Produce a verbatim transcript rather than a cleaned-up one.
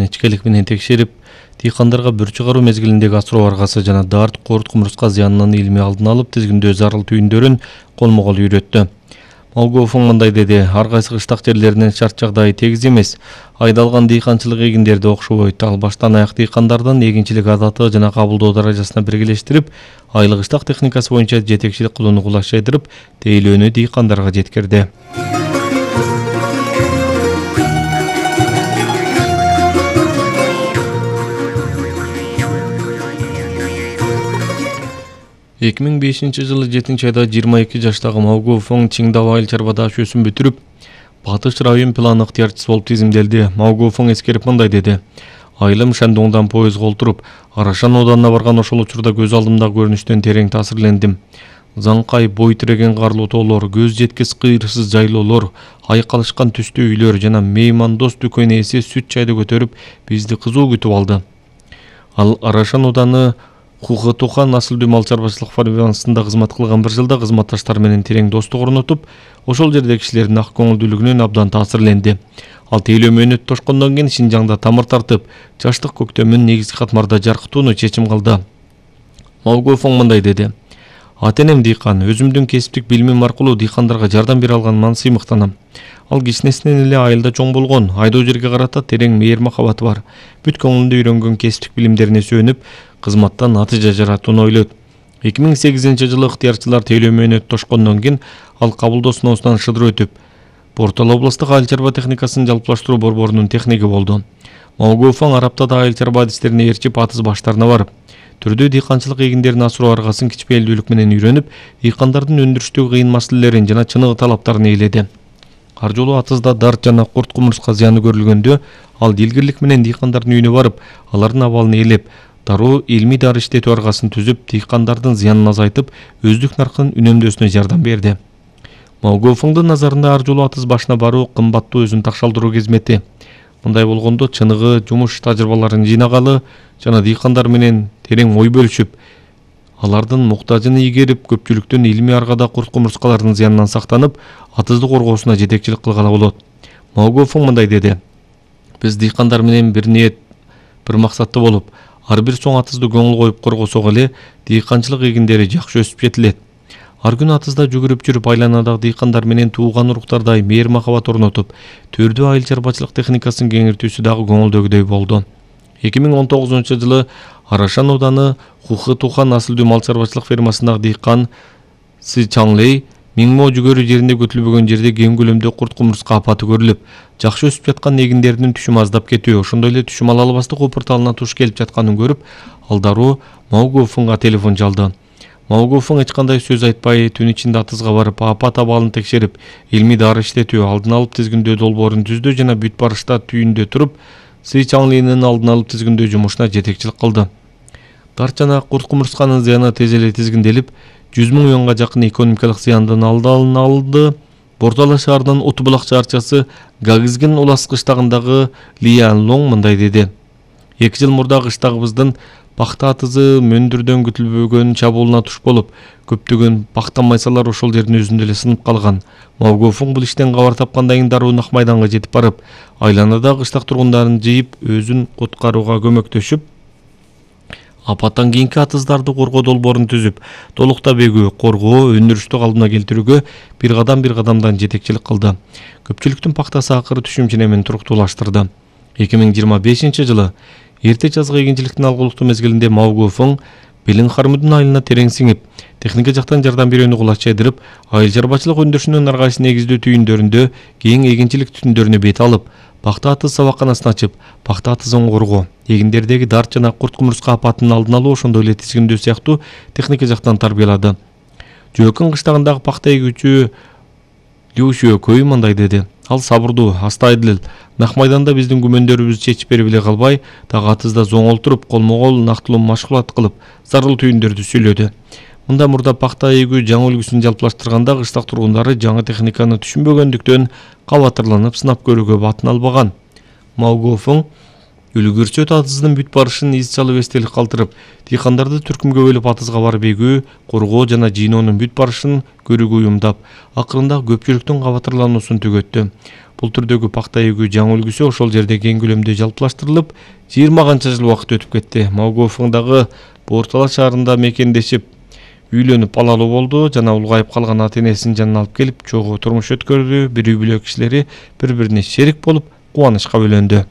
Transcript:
жана ичкелик менен текшерип, дыйкандарга бүр чыгаруу мезгилиндеги асыроо аргасы жана дарт, курт кумурска зыянынын илмий алдын алып тизгиндөө зарыл түйүндөрүн колмо-кол үйрөттү. Малгофун мындай деди: ар кайсы кыштак жерлеринин шарт жагдайы тегиз эмес. Айдалган дыйканчылык эгиндерди окшобойт. Ал баштан аяк дыйкандардын эгинчилик адаты жана кабылдоо даражасына биргелештирип, айлык кыштак техникасы боюнча жетекчилик кылууну кулашайдырып, тейлөөнү дыйкандарга жеткирди. эки миң бешинчи жылы жетинчи айда жыйырма эки жаштагы Малгофун Чиңдау айыл чарба дашөсүн бүтүрүп, Батыш район план ыктыярчысы болуп тизимделди. Малгофун эскерип мындай деди: айылым Шандоңдон поездга олтуруп, Арашан ауданына барган ошол учурда көз алдымдагы көрүнүштөн терең таасирлендим. Заңкай бой тиреген карлуу тоолор, көз жеткис кыйырсыз жайлоолор, айкалышкан түстүү үйлөр жана меймандос дүкөн ээси сүт чайды көтөрүп бизди кызуу күтүп алды. Ал Арашан ауданы Хухатухан насылдуу мал чарбачылык фермасында кызмат кылган бир жылда кызматташтары менен терең достук орнотуп, ошол жердеги кишилердин ак көңүлдүүлүгүнөн абдан таасирленди. Ал тейлөө мөөнөт тошкондон кийин Шинжаңда тамыр тартып, жаштык көктөмүн негизги катмарда жаркытууну чечим кылды. Малгофун мындай деди: ата-энем дыйкан, өзүмдүн кесиптик билимим аркылуу дыйкандарга жардам бере алганыман сыймыктанам. Ал кичинесинен эле айылда чоң болгон, айдоо жерге карата терең мейир махабаты бар. Бүт көңүлүндө үйрөнгөн кесиптик билимдерине сүйөнүп, кызматтан натыйжа жаратууну ойлойт. эки миң сегизинчи жылы ыктыярчылар тейлөө мөөнөт тошкондон кийин ал кабылдоо сыноосунан шыдыр өтүп, Портал областык айыл чарба техникасын жалпылаштыруу борборунун техниги болду. Малгофун ар аптада айыл чарба адистерине ээрчип атыз баштарына барып, түрдүү дыйканчылык эгиндерин асыроо аргасын кичпейилдүүлүк менен үйрөнүп, дыйкандардын өндүрүштүү кыйын маселелерин жана чыныгы талаптарын ээледи. Ар жолу атызда дарт жана курт кумурска зыяны көрүлгөндө, ал дилгирлик менен дыйкандардын үйүнө барып, алардын абалын ээлеп, дароо илмий дары иштетүү аргасын түзүп, дыйкандардын зыянын азайтып, өздүк наркын үнөмдөөсүнө жардам берди. Малгофундун назарында ар жолу атыз башына баруу кымбаттуу өзүн такшалдыруу кезмети. Мындай болгондо чыныгы жумуш тажрыйбаларын жыйнагалы жана дыйкандар менен терең ой бөлүшүп, алардын муктажын ийгерип, көпчүлүктүн илмий аргада курт кумурскалардын зыянынан сактанып, атызды коргоосуна жетекчилик кылгала болот. Малгофун мындай деди: биз дыйкандар менен бир ниет, бир максатты болуп, ар бир соң атызды көңүл коюп коргосок эле дыйканчылык эгиндери жакшы өсүп жетилет. Ар күнү атызда жүгүрүп жүрүп, айланадагы дыйкандар менен тууган уруктардай мейир махабат орнотуп, түрдүү айыл чарбачылык техникасын кеңиртүүсү дагы көңүлдөгүдөй болду. эки миң он тогузунчу жылы Арашан ауданы Хухатухан насылдуу мал чарбачылык фермасындагы дыйкан Сы Чаңлей Миңмо жүгөрү жеринде көтүлбөгөн жерде кең көлөмдө курт кумурска апаты көрүлүп, жакшы өсүп жаткан эгиндердин түшүмү аздап кетүү, ошондой эле түшүм ала албастык опурталына туш келип жатканын көрүп, ал дароо Малгофунга телефон чалды. Малгофун эч кандай сөз айтпай, түн ичинде атызга барып, апат абалын текшерип, илмий дары иштетүү, алдын алып тизгиндөө долбоорун түздү жана бүт барышта түйүндө туруп, Сы Чаңлийнин алдын алып тизгиндөө жумушуна жетекчилик кылды. Дарт жана курт кумурсканын зыяны тез эле тизгинделип, жүз миң миллионго жакын экономикалык зыяндын алдын алды. Бортала шаарынын Утбулак чаарчасы Гагызгин Улас кыштагындагы Лиян Лоң мындай деди: эки жыл мурда кыштагыбыздын пахта атызы мөндүрдөн күтүлбөгөн чабуулуна туш болуп, көптөгөн пахта майсалар ошол жердин өзүндө эле сынып калган. Малгофун бул иштен кабар тапкандан кийин дароо Нак майданга жетип барып, айланадагы кыштак тургундарын жыйып, өзүн куткарууга көмөктөшүп, апаттан кийинки атыздарды коргоо долбоорун түзүп, толуктап эгүү, коргоо, өндүрүштү калыбына келтирүүгө бир кадам бир кадамдан жетекчилик кылды. Көпчүлүктүн пахтасы акыры түшүм менен туруктуулаштырды. эки миң жыйырма бешинчи жылы эрте жазгы эгинчиликтин алгылыктуу мезгилинде Малгофун Белин Хармудун айылына терең сиңип, техника жактан жардам берүүнү кулачайдырып, айыл чарбачылык өндүрүшүнүн аргайсы негиздүү түйүндөрүндө кең эгинчилик түтүндөрүнө бет алып, пахта атыз сабакканасын ачып, пахта атызын коргоо, эгиндердеги дарт жана курт кумурска апатынын алдын алуу, ошондой эле тизгиндөө сыяктуу техника жактан тарбиялады. Жөөкөн кыштагындагы пахта эгүүчү Люшио Көй мындай деди: ал сабырдуу, астайдыл. Нак майданда биздин күмөндөрүбүздү чечип берип эле калбай, дагы атызда зоңолтуруп, колмо-кол нактылуу машгулат кылып, зарыл түйүндөрдү сүйлөдү. Мында мурда пахта эгүү жаңы үлгүсүн жалпылаштырганда кыштак тургундары жаңы техниканы түшүнбөгөндүктөн кабатырланып сынап көрүүгө батын албаган. Малгофун үлгүрчөт атыздын бүт барышын из чалып эстелик калтырып, дыйкандарды түркүмгө бөлүп атызга барып эгүү, коргоо жана жыйноонун бүт барышын көрүүгө уюмдап, акырында көпчүлүктүн кабатырлануусун түгөттү. Бул түрдөгү пакта эгүү жаңы үлгүсү ошол жерде кең көлөмдө жалпылаштырылып, жыйырма канча жыл убакыт өтүп кетти. Маугуофуңдагы Бууртала шаарында мекендешип, үйлөнүп алалуу болду жана улгайып калган ата-энесинин жанына алып келип, чогуу турмуш өткөрдү. Бир үй бүлө кишилери бири-бирине шерик болуп, кубанычка бөлөндү.